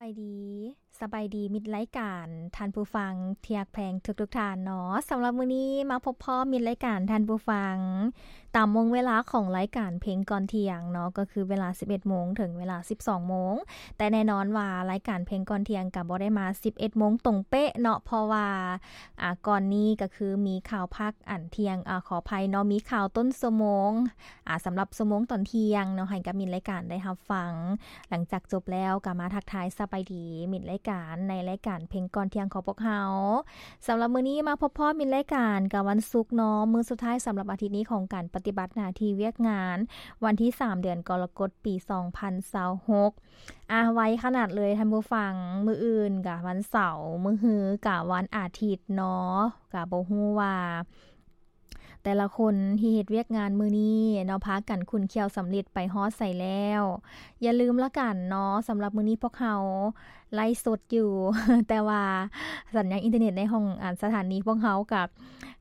ສະບາຍດີ ສະບາຍດີມິດລາຍການ ທ່ານຜູ້ຟັງທີ່ຮັກແພງທຸກໆທ່ານເນາະ. ສຳລັບມື້ນີ້ມາພົບພໍ້ມິດລາຍການ ທ່ານຜູ້ຟັງ ຕາມໂມງເວລາຂອງລາຍການເພງກ່ອນທ່ຽງເນາະ ກໍຄືເວລາສິບເອັດໂມງເຖິງເວລາສິບສອງໂມງ. ແຕ່ແນ່ນອນວ່າລາຍການເພງກ່ອນທ່ຽງກໍບໍ່ໄດ້ມາສິບເອັດໂມງຕົງເປະເນາະ ເພາະວ່າ ອ່າ ກ່ອນນີ້ກໍຄືມີຂ່າວພາກອັນທ່ຽງ ອາ ຂໍອະໄພເນາະ ມີຂ່າວຕົ້ນຊົ່ວໂມງ ອາ ສຳລັບຊົ່ວໂມງຕອນທ່ຽງເນາະ ໃຫ້ກັບມິດລາຍການໄດ້ຮັບຟັງ. ຫຼັງຈາກຈົບແລ້ວກໍມາທັກທາຍສະບາຍດີມິດລາຍການ ໃນລາຍການເພງກ່ອນທ່ຽງຂອງພວກເຮົາ. ສຳລັບມື້ນີ້ມາພົບພໍ້ມິດລາຍການກັບວັນສຸກເນາະ ມື້ສຸດທ້າຍສຳລັບອາທິດນີ້ຂອງການປະຕິບັດໜ້າທີ່ວຽກງານ ວັນທີສາມ ເດືອນກໍລະກົດ ປີສອງພັນຊາວຫົກ. ອາ ໄວຂະໜາດເລີຍທ່ານຜູ້ຟັງ, ມື້ອື່ນກະວັນເສົາ, ມື້ຮືກະວັນອາທິດເນາະ, ກະບໍ່ຮູ້ວ່າແຕ່ລະຄົນທີ່ເຮັດວຽກງານມື້ນີ້ເນາະ ພາກັນຂຸ້ນຂ້ຽວສຳລິດໄປຮອດໃສແລ້ວ. ຢ່າລືມລະກັນເນາະ, ສຳລັບມື້ນີ້ພວກເຮົາໄລຟ໌ສົດຢູ່, ແຕ່ວ່າສັນຍານອິນເຕີເນັດໃນຫ້ອງ ອາ ສະຖານີພວກເຮົາກະ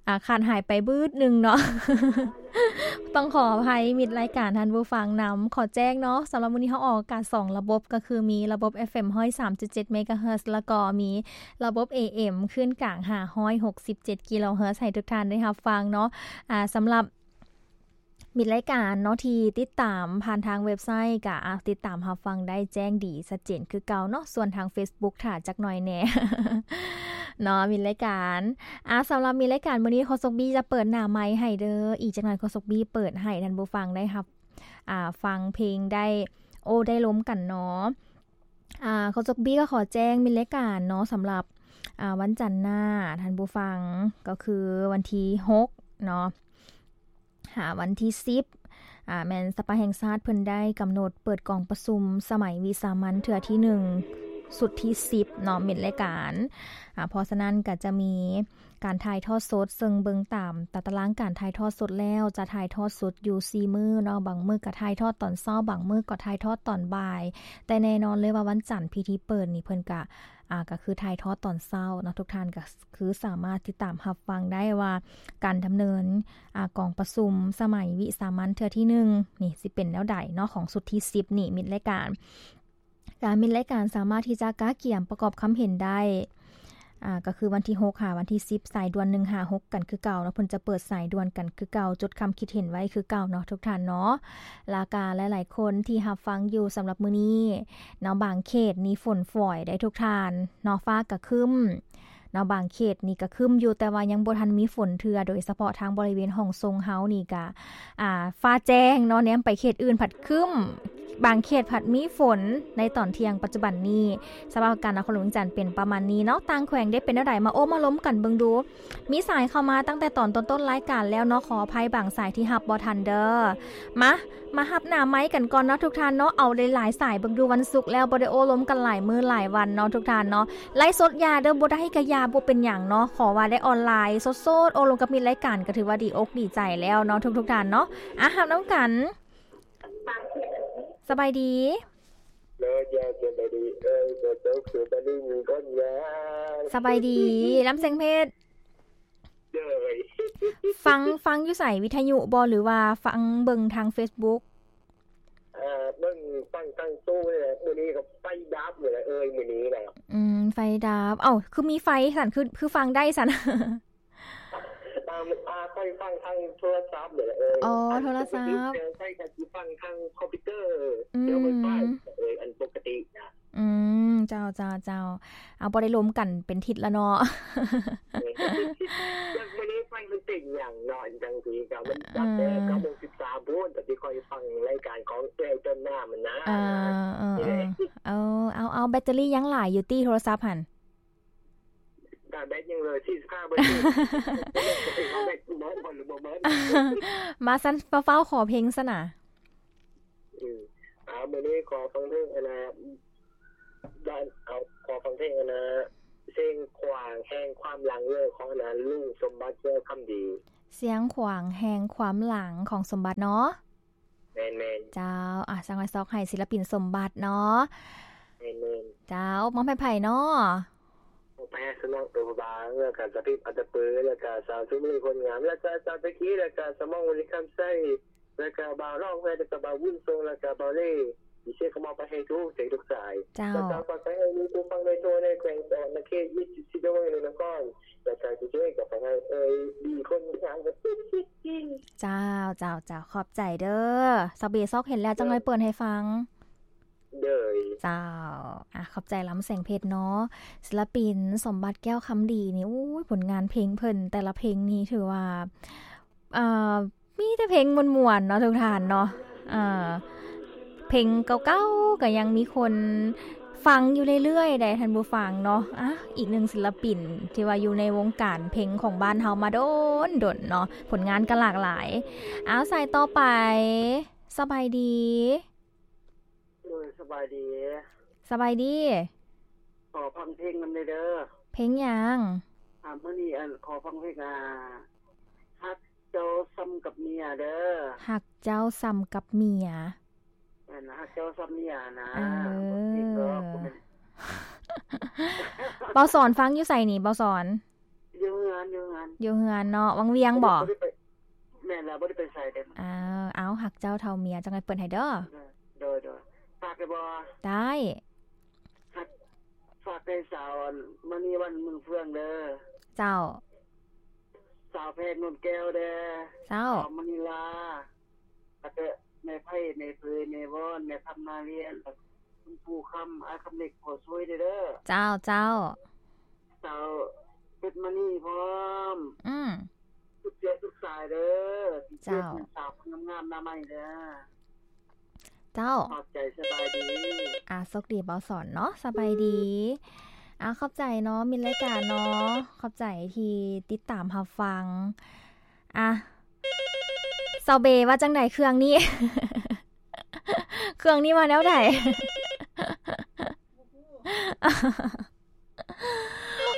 ອາ ຂາດຫາຍໄປບຶດໜຶ່ງເນາະ. ຕ້ອງຂໍອະໄພມິດລາຍການທ່ານຜູ້ຟັງນຳ. ຂໍແຈ້ງເນາະ, ສຳລັບມື້ນີ້ເຮົາອອກອາກາດສອງລະບົບ, ກໍຄືມີລະບົບເອັຟເອັມຮ້ອຍສາມຈຸດເຈັດເມກາເຮີດ ແລ້ວກໍມີລະບົບເອເອັມຄື້ນກາງຫ້າຮ້ອຍຫົກສິບເຈັດກິໂລເຮີດ ໃຫ້ທຸກທ່ານໄດ້ຮັບຟັງເນາະ. ອາ ສຳລັບ ມິດລາຍການເນາະ ທີ່ຕິດຕາມຜ່ານທາງເວັບໄຊ ກະ ອາ ຕິດຕາມຮັບຟັງໄດ້ແຈ້ງດີຊັດເຈນຄືເກົ່າເນາະ. ສ່ວນທາງເຟສບຸກຖ້າຈັກໜ່ອຍແດ່ເນາະ ມິດລາຍການ. ອາ ສຳລັບມິດລາຍການມື້ນີ້ ໂຄສົກບີຈະເປີດໜ້າໄມໃຫ້ເດີ. ອີກຈັກໜ່ອຍໂຄສົກບີເປີດໃຫ້ທ່ານຜູ້ຟັງໄດ້ຮັບ ອາ ຟັງເພງໄດ້ ໂອ້ ໄດ້ລົມກັນເນາະ. ອາ ໂຄສົກບີກໍຂໍແຈ້ງມິດລາຍການເນາະ ສຳລັບ ອາ ວັນຈັນໜ້າ ທ່ານຜູ້ຟັງ ກໍຄືວັນທີຫົກເນາະ ຫາວັນທີສິບ ອາ ແມ່ນສະພາແຫ່ງຊາດເພິ່ນໄດ້ກຳນົດເປີດກອງປະຊຸມສະໄໝວິສາມັນເທື່ອທີໜຶ່ງ ຊຸດທີສິບເນາະ ມິດລາຍການ. ອາ ເພາະສະນັ້ນກໍຈະມີ ການຖ່າຍທອດສົດ, ເຊິ່ງເບິ່ງຕາມຕາຕະລາງການຖ່າຍທອດສົດແລ້ວ ຈະຖ່າຍທອດສົດຢູ່ສີ່ມື້ເນາະ, ບາງມື້ກໍຖ່າຍທອດຕອນເຊົ້າ, ບາງມື້ກໍຖ່າຍທອດຕອນບ່າຍ, ແຕ່ແນ່ນອນເລີຍວ່າວັນຈັນພິທີເປີດນີ້ເພິ່ນກະ ອາ ກໍຄືຖ່າຍທອດຕອນເຊົ້າເນາະ, ທຸກທ່ານກໍຄືສາມາດຕິດຕາມຮັບຟັງໄດ້ວ່າການດຳເນີນ ອາ ກອງປະຊຸມສະໄໝວິສາມັນເທື່ອທີໜຶ່ງນີ້ຊິເປັນແນວໃດເນາະ, ຂອງຊຸດທີສິບນີ້ ມິດລາຍການ. ການ ມິດລາຍການສາມາດທີ່ຈະກະກຽມປະກອບຄຳເຫັນໄດ້ ອາ ກໍຄືວັນທີຫົກຫາວັນທີສິບ ສາຍດ່ວນໜຶ່ງຫ້າຫົກກັນຄືເກົ່າເນາະ, ເພິ່ນຈະເປີດສາຍດ່ວນກັນຄືເກົ່າ, ຈົດຄຳຄິດເຫັນໄວ້ຄືເກົ່າເນາະ ທຸກທ່ານເນາະ. ລະກະຫຼາຍໆຄົນທີ່ຮັບຟັງຢູ່ສຳລັບມື້ນີ້ເນາະ, ບາງເຂດນີ້ຝົນຝອຍໄດ໋ທຸກທ່ານເນາະ, ຟ້າກະຄຶ້ມເນາະ, ບາງເຂດນີ້ກະຄຶ້ມຢູ່ ແຕ່ວ່າຍັງບໍ່ທັນມີຝົນເທື່ອ, ໂດຍສະເພາະທາງບໍລິເວນຫ້ອງຊົງເຮົານີ້ກະ ອາ ຟ້າແຈ້ງເນາະ, ແນມໄປເຂດອື່ນພັດຄຶ້ມ, ບາງເຂດພັດມີຝົນໃນຕອນທ່ຽງປັດຈຸບັນນີ້. ສະພາບອາກາດນະຄອນຫຼວງວຽງຈັນເປັນປະມານນີ້ເນາະ, ຕ່າງແຂວງເດເປັນແນວໃດ ມາໂອ້ມາລົມກັນເບິ່ງດູ. ມີສາຍເຂົ້າມາຕັ້ງແຕ່ຕອນຕົ້ນໆລາຍການແລ້ວເນາະ, ຂໍອະໄພບາງສາຍທີ່ຮັບບໍ່ທັນເດີ. ມາ ມາຮັບໜ້າໄມກັນກ່ອນເນາະ ທຸກທ່ານເນາະ, ເອົາຫຼາຍໆສາຍເບິ່ງດູ, ວັນສຸກແລ້ວບໍ່ໄດ້ໂອ້ລົມກັນຫຼາຍມື້ຫຼາຍວັນເນາະ ທຸກທ່ານເນາະ. ໄລຟ໌ສົດຢ່າເດີ, ບໍ່ໄດ້ກະຢ່າ ບໍ່ເປັນຫຍັງເນາະ, ຂໍວ່າໄດ້ອອນລາຍສົດໆ ໂອ້ລົມກັບມິດລາຍການ ກໍຖືວ່າດີອົກດີໃຈແລ້ວເນາະ ທຸກໆທ່ານເນາະ. ອາ ຮັບນຳກັນ. ສະບາຍດີ. ໂດຍ ເຈົ້າ ສະບາຍດີ. ເອີຍ ເຈົ້າ ເຈົ້າ ສະບາຍດີມີຄົນຍາ. ສະບາຍດີ. ລຳແສງເພັດ. ໂດຍ. ຟັງ ຟັງຢູ່ໃສ? ວິທະຍຸບໍ ຫຼືວ່າຟັງເບິ່ງທາງເຟສບຸກ? ເອີ ເບິ່ງ ຟັງທາງຕູ້ນີ້ແຫຼະ, ມື້ນີ້ກໍໄຟດັບນີ້ແຫຼະເອີຍ ມື້ນີ້ນະ. ອືມ ໄຟດັບ. ເອົ້າ ຄືມີໄຟຊັ້ນ ຄື ຄືຟັງໄດ້ຊັ້ນ? ຕາມ ອາ ຂ້ອຍຟັງທາງໂທລະສັບນີ້ແຫຼະເອີຍ. ອໍ ອັນ ໂທລະສັບ ປົກກະຕິແຕ່ໃຊ້ກໍຊິຟັງທາງຄອມພິວເຕີ ອືມ ແລ້ວໄຟ ເອີຍ ອັນປົກກະຕິນະ. ອືມ ເຈົ້າ ເຈົ້າ ເຈົ້າ. ເອົາ ບໍ່ໄດ້ລົມກັນເປັນທິດລະເນາະ. ເອີ ຈັກມື້ນີ້ໄຟມັນເປັນຫຍັງເນາະ ຈັ່ງຊີ້ ກໍມັນ ເອີ ເກົ້າໂມງສິບສາມພຸ້ນ ແຕ່ທີ່ຂ້ອຍຟັງລາຍການຂອງເອື້ອຍຕົ້ນນ້ຳຫັ້ນນະ. ເອີ ເອີ ເອີ ເອີ ເອົາ ເອົາ ແບັດເຕີຣີຍັງຫຼາຍຢູ່ຕິ ໂທລະສັບຫັ້ນ? ແບັດຍັງເຫຼືອສີ່ສິບຫ້າເປີເຊັນ ແບັດເບິດບໍ່ ຫຼືບໍ່ເບິດ. ມາຊັ້ນ ຟ້າວໆຂໍເພງຊັ້ນນະ. ອືມ ອ່າ ມື້ນີ້ຂໍຟັງເພງອັນນະ ເອົາ ຂໍຟັງເພງອັນນະ ຊຽງຂວາງແຫ່ງຄວາມຫຼັງເລີ ຂອງອັນນະ ລຸງສົມບັດ ແກ້ວຄຳດີ. ຊຽງຂວາງແຫ່ງຄວາມຫຼັງ ຂອງສົມບັດເນາະ. ແມ່ນໆ ເຈົ້າ. ອ່າ ສັງຫວາຍຊອກໃຫ້ສິລະປິນສົມບັດເນາະ. ແມ່ນໆ ເຈົ້າ. ມອບໃຫ້ໃຜເນາະ? ມອບໃຫ້ສະໜອງໂຕພະບາງ ແລ້ວກະສະພິບອັດຕະປື ແລ້ວກະສາວສຸມະລີ ຄົນງາມ ແລ້ວກະສາວຕະກີ ແລ້ວກະສະໝອງ ວະລິຄຳໄຊ ແລ້ວກະບ່າວລອງແວ ແລ້ວກະບ່າວບຸນຊົງ ແລ້ວກະບ່າວເລ ເຊກະມອບໄປໃຫ້ທຸກເສກທຸກສາຍ. ເຈົ້າ. ແລ້ວກະຝາກໄປໃຫ້ ຜູ້ຟັງໂດຍທົ່ວໃນແຂວງສະຫວັນນະເຂດ ວິທຍຸເອເຊຍ ແລະ ນະຄອນ ຈາກສາຍຜູ້ຊ່ວຍກັບຟັງໃຫ້ເອີຍ ດີຄົນທາງກັນຕິດໆ. ເຈົ້າ ເຈົ້າ ເຈົ້າ ຂອບໃຈເດີ. ສາວເບຊອກເຫັນແລ້ວ ຈັ່ງໃຫ້ເປີດໃຫ້ຟັງ. ໂດຍ ເຈົ້າ ອາ ຂອບໃຈລຳແສງເພັດເນາະ. ສິລະປິນ ສົມບັດ ແກ້ວຄຳດີ ນີ້ ໂອ້ຍ ຜົນງານເພງເພິ່ນ ແຕ່ລະເພງນີ້ຖືວ່າ ເອີ ມີແຕ່ເພງມ່ວນໆເນາະທຸກທ່ານເນາະ. ເອີ ເພງເກົ່າໆກໍຍັງມີຄົນຟັງຢູ່ເລື້ອຍໆ ໃດທ່ານຜູ້ຟັງເນາະ. ອາ ອີກໜຶ່ງສິລະປິນທີ່ວ່າຢູ່ໃນວົງການເພງຂອງບ້ານເຮົາມາດົນໆເນາະ ຜົນງານກໍຫຼາກຫຼາຍ. ເອົາ ສາຍຕໍ່ໄປ ສະບາຍດີ. ໂດຍ ສະບາຍດີ. ສະບາຍດີ. ຂໍຟັງເພງນຳແດ່ເດີ. ເພງຫຍັງ? ອາ ມື້ນີ້ ອັນ ຂໍຟັງເພງ ອາ ຮັກເຈົ້າສ່ຳກັບເມຍເດີ. ຮັກເຈົ້າສ່ຳກັບເມຍ. ແມ່ນ ຮັກເຈົ້າສ່ຳເມຍນະ. ເອີ ບໍ່ເພງດອກ ບໍ່ແມ່ນ. ເບົາສອນຟັງຢູ່ໃສນີ້ ເບົາສອນ? ຢູ່ເຮືອນ ຢູ່ເຮືອນ ຢູ່ເຮືອນເນາະ. ວັງວຽງບໍ? ບໍ່ໄດ້ໄປ ແມ່ນແລ້ວ ບໍ່ໄດ້ໄປໃສເດ້. ເອົາ ເອົາ ຮັກເຈົ້າເທົ່າເມຍ ຈັ່ງໃຫ້ເປີດໃຫ້ເດີ. ໂດຍ ໂດຍ ໂດຍ. ຝາກໄດ້ບໍ່? ໄດ້. ຮັກ ຝາກໃຫ້ສາວ ອັນ ມະນີວັນ ເມືອງເຟືອງເດີ. ເຈົ້າ. ສາວແພງ ນົນແກ້ວເດີ. ເຈົ້າ. ສາວມະນີລາ ແລ້ວກໍແມ່ໄພ ແມ່ເຜີຍ ແມ່ວອນ ແມ່ຄຳ ນາວຽນ ແລ້ວກໍຄຸນປູ່ຄຳ ອ້າຍຄຳເລັກ ພໍ່ຊ່ວຍເດີ. ເຈົ້າ ເຈົ້າ. ສາວເພັດມະນີພ້ອມ. ອືມ. ສຸດເສຍສຸດສາຍເດີ. ເຈົ້າ. ສາວງາມໆ ໜ້າໃໝ່ເດີ. ເຈົ້າ. ຂອບໃຈ ສະບາຍດີ. ອາ ໂຊກດີ ເບົາສອນເນາະ. ສະບາຍດີ. ອາ ຂອບໃຈເນາະ ມິດລາຍການເນາະ. ຂອບໃຈທີ່ຕິດຕາມຮັບຟັງ. ອາ ສາວເບວ່າຈັ່ງໃດ ເຄື່ອງນີ້ ເຄື່ອງນີ້ວ່າແນວໃດ?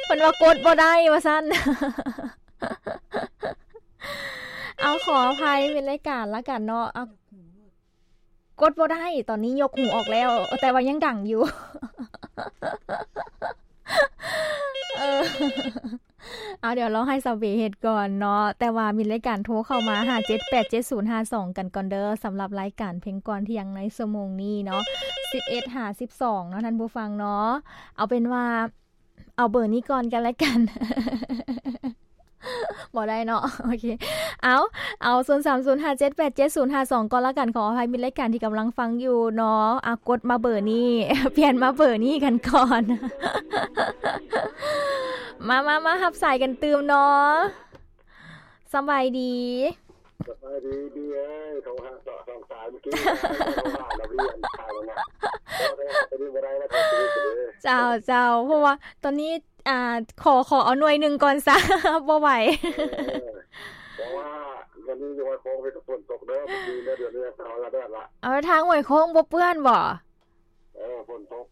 ເພິ່ນວ່າກົດບໍ່ໄດ້ວ່າຊັ້ນ. ເອົາ ຂໍອະໄພ ມິດລາຍການລະກັນເນາະ. ເອົາ ກົດບໍ່ໄດ້ ຕອນນີ້ຍົກຫູອອກແລ້ວ ແຕ່ວ່າຍັງດັງຢູ່. ເອີ ເອົາ ດຽວລອງໃຫ້ສາວເບເຮັດກ່ອນເນາະ. ແຕ່ວ່າມີລາຍການໂທເຂົ້າມາ ຫ້າເຈັດແປດເຈັດສູນຫ້າສອງ ກັນກ່ອນເດີ ສຳລັບລາຍການເພງກ່ອນທ່ຽງໃນຊົ່ວໂມງນີ້ເນາະ ສິບເອັດຫາສິບສອງເນາະ ທ່ານຜູ້ຟັງເນາະ. ເອົາເປັນວ່າ ເອົາເບີນີ້ກ່ອນກັນລະກັນ. ບໍ່ໄດ້ເນາະ. ໂອເຄ ເອົາ ເອົາ ສູນສາມສູນຫ້າເຈັດແປດເຈັດສູນຫ້າສອງ ກ່ອນລະກັນ. ຂໍອະໄພມິດລາຍການທີ່ກຳລັງຟັງຢູ່ເນາະ. ອາ ກົດມາເບີນີ້ ປ່ຽນມາເບີນີ້ກັນກ່ອນ. ມາ ມາ ມາຮັບສາຍກັນຕື່ມເນາະ. ສະບາຍດີ. ສະບາຍດີບີເອີຍ. ໂທຫາສອງສາຍເມື່ອກີ້ ໂທຫາລະວຽນ ເຈົ້າ ເຈົ້າ. ເພາະວ່າຕອນນີ້ ອ່າ ຂໍ ຂໍເອົາໜ່ວຍໜຶ່ງກ່ອນຊະ ບໍ່ໄຫວ. ເອີ ເພາະວ່າດຽວນີ້ຢູ່ຫ້ວຍໂຄ້ງເພິ່ນກໍຝົນຕົກເດີ ເມື່ອກີ້ເດີ ດຽວນີ້ເອົາລະແດດລະ. ເອົາ ທາງຫ້ວຍໂຄ້ງບໍ່ເປື້ອນບໍ? ເອີ ຝົນຕົກ.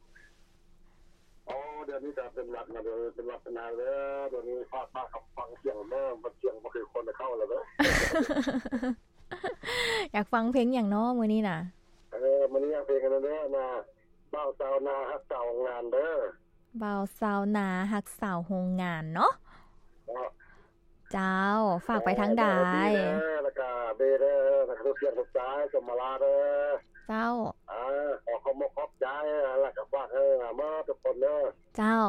ໂອ້ ດຽວນີ້ກໍເປັນຫວັດນະ ດຽວເປັນຫວັດເປັນໄອເດີ. ດຽວນີ້ພາດມາກັບຟັງສຽງເດີ ມັນສຽງບໍ່ຄືຄົນເຂົ້າລະເດີ. ຢາກຟັງເພງຫຍັງເນາະມື້ນີ້ນະ? ເອີ ມື້ນີ້ເພງອັນນັ້ນເດີ ນະ ບ່າວຊາວນາຮັກສາວໂຮງງານເດີ. ບ່າວຊາວນາຮັກສາວໂຮງງານເນາະ. ເນາະ. ເຈົ້າ ຝາກໄປທາງໃດ? ເອີ ດີເດີ ແລ້ວກະເບເດີ ແລ້ວກະທຸກທ່ານທຸກສາຍ ສົມມາລາເດີ. ເຈົ້າ. ອ່າ ຂໍຂອບອົກຂອບໃຈ ແລ້ວກະຝາກໃຫ້ໝົດທຸກຄົນເດີ. ເຈົ້າ.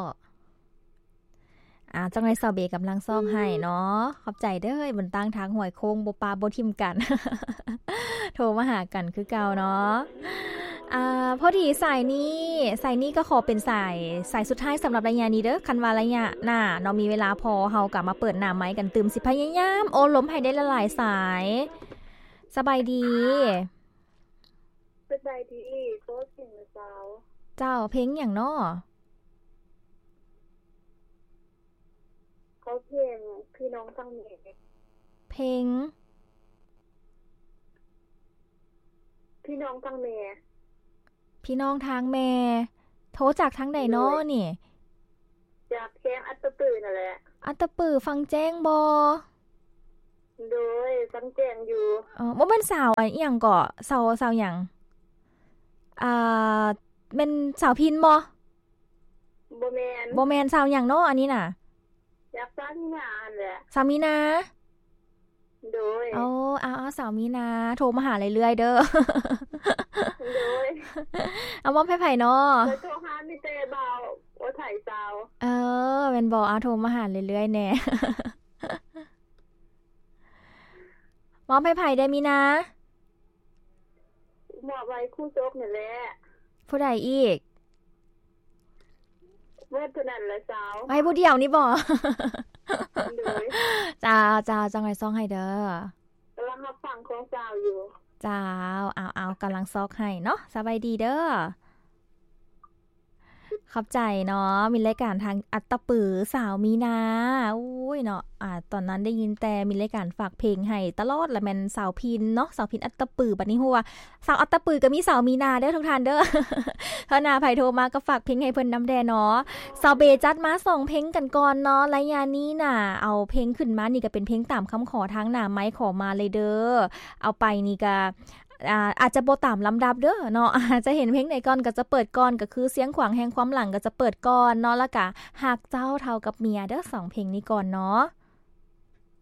ອ່າ ຈັ່ງໃດສາວເບກຳລັງຊອກໃຫ້ເນາະ. ຂອບໃຈເດີ ເອີຍ ບົນຕັ້ງທາງຫ້ວຍໂຄ້ງ ບໍ່ປະບໍ່ຖິ້ມກັນ ໂທມາຫາກັນຄືເກົ່າເນາະ. ອ່າ ພໍດີສາຍນີ້ ສາຍນີ້ກໍຂໍເປັນສາຍ ສາຍສຸດທ້າຍສຳລັບໄລຍະນີ້ເດີ. ຄັນວ່າໄລຍະໜ້າເນາະ ມີເວລາພໍ ເຮົາກໍມາເປີດໜ້າໄມກັນຕື່ມ. ຊິພະຍາຍາມໂອ້ລົມໃຫ້ໄດ້ຫຼາຍໆສາຍ. ສະບາຍດີ. ສະບາຍດີ. ຂໍເພງແດ່ສາວ. ເຈົ້າ. ເພງຫຍັງເນາະ? ຂໍເພງພີ່ນ້ອງທາງແມ່. ເພງ ພີ່ນ້ອງທາງແມ່. ພີ່ນ້ອງທາງແມ່. ໂທຈາກທາງໃດເນາະນີ້? ຈາກແຂວງອັດຕະປືນັ້ນແຫຼະ. ອັດຕະປື ຟັງແຈ້ງບໍ່? ໂດຍ ຟັງແຈ້ງຢູ່. ອໍ ບໍ່ແມ່ນສາວ ອັນ ອີ່ຫຍັງເກາະ ສາວ ສາວຫຍັງ? ອ່າ ແມ່ນສາວພິນບໍ່? ບໍ່ແມ່ນ. ບໍ່ແມ່ນ ສາວຫຍັງເນາະອັນນີ້ນະ? ຈາກສາວມີນາຫັ້ນແຫຼະ. ສາວມີນາ. ໂດຍ. ໂອ້ ເອົາ ເອົາ ສາວມີນາ ໂທມາຫາເລື້ອຍໆເດີ. ໂດຍ. ເອົາ ມອບໃຫ້ໃຜເນາະ? ຂ້ອຍໂທຫາມີແຕ່ບ່າວ ໃຜສາວ? ເອີ ແມ່ນບໍ່? ເອົາ ໂທມາຫາເລື້ອຍໆແດ່. ມອບໃຫ້ໃຜເດີມີນາ? ມອບໃຫ້ຄູ່ສົກນີ້ແຫຼະ. ຜູ້ໃດອີກ? ເໝິດເທົ່ານັ້ນແຫຼະສາວ. ໃຫ້ຜູ້ດຽວນີ້ບໍ? ໂດຍ. ເຈົ້າ ເຈົ້າ ຈັ່ງໃດຊອກໃຫ້ເດີ. ກຳລັງຮັບຟັງຂອງສາວຢູ່. ເຈົ້າ ເອົາໆ ກຳລັງຊອກໃຫ້ເນາະ. ສະບາຍດີເດີ. ຂອບໃຈເນາະ ມີລາຍການທາງອັດຕະປື ສາວມີນາ. ໂອ້ຍເນາະ ອາ ຕອນນັ້ນໄດ້ຍິນແຕ່ມີລາຍການຝາກເພງໃຫ້ຕະຫຼອດ ລະແມ່ນສາວພິນເນາະ ສາວພິນອັດຕະປື. ບັດນີ້ຮູ້ວ່າສາວອັດຕະປືກໍມີສາວມີນາເດີທຸກທ່ານເດີ. ຖ້າໜ້າໃຜໂທມາກໍຝາກເພງໃຫ້ເພິ່ນນຳແດ່ເນາະ. ສາວເບຈັດມາສອງເພງກັນກ່ອນເນາະ ໄລຍະນີ້ນະ. ເອົາເພງຂຶ້ນມານີ້ກໍເປັນເພງຕາມຄຳຂໍທາງໜ້າໄມຂໍມາເລີຍເດີ. ເອົາໄປນີ້ກໍ ອາ ອາດຈະບໍ່ຕາມລຳດັບເດີເນາະ ຈະເຫັນເພງໃດກ່ອນກໍຈະເປີດກ່ອນ ກໍຄືສຽງຂວາງແຫ່ງຄວາມຫຼັງກໍຈະເປີດກ່ອນເນາະ ແລ້ວກະຮັກເຈົ້າເທົ່າກັບເມຍເດີ ສອງເພງນີ້ກ່ອນເນາະ.